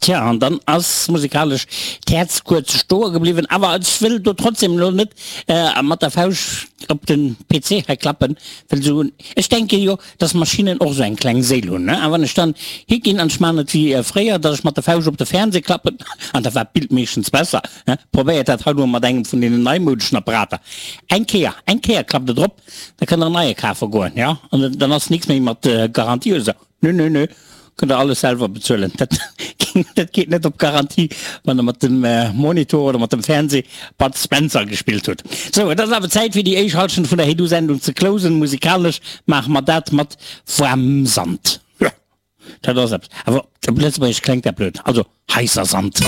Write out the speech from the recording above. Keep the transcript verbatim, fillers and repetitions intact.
Tja, an dann ass musikalesch d'Häerz kuerz stoe gebliwwen. Awer ech wëll do trotzdem elo net mat der Fauscht op den P C hei klappen, well esou, ech denke jo, dass Maschinnen och esou eng kleng Séil hunn, ne? A wann ech dann higinn an ech maachen et wéi fréier, dass ech mat der Fauscht op de Fernseh klappen, an da war d'Bild meeschtens besser, ne? Probéiert dat haut emol mat engem vun deenen neimoudeschen Apparater. Eng Kéier, eng Kéier klappt Der drop, da kënnt Der en neie kafe goen, jo? An dann ass nix méi mat Garantie oder esou. Nö, nö, nö, kënnt Der alles selwer bezuelen. Dat, dat geet net op Garantie, wann Der mat dem Monitor oder mat dem Fernseh Bud Spencer gespillt hutt. Sou, et ass awer Zäit fir déi éischt Halschent vun der Hey-Du-Sendung ze closen. Musikalesch maache mer dat mat waarmem Sand. Jo, dat ass eppes. Awer op Lëtzebuergesch klengt dat blöd. Also, heisser Sand.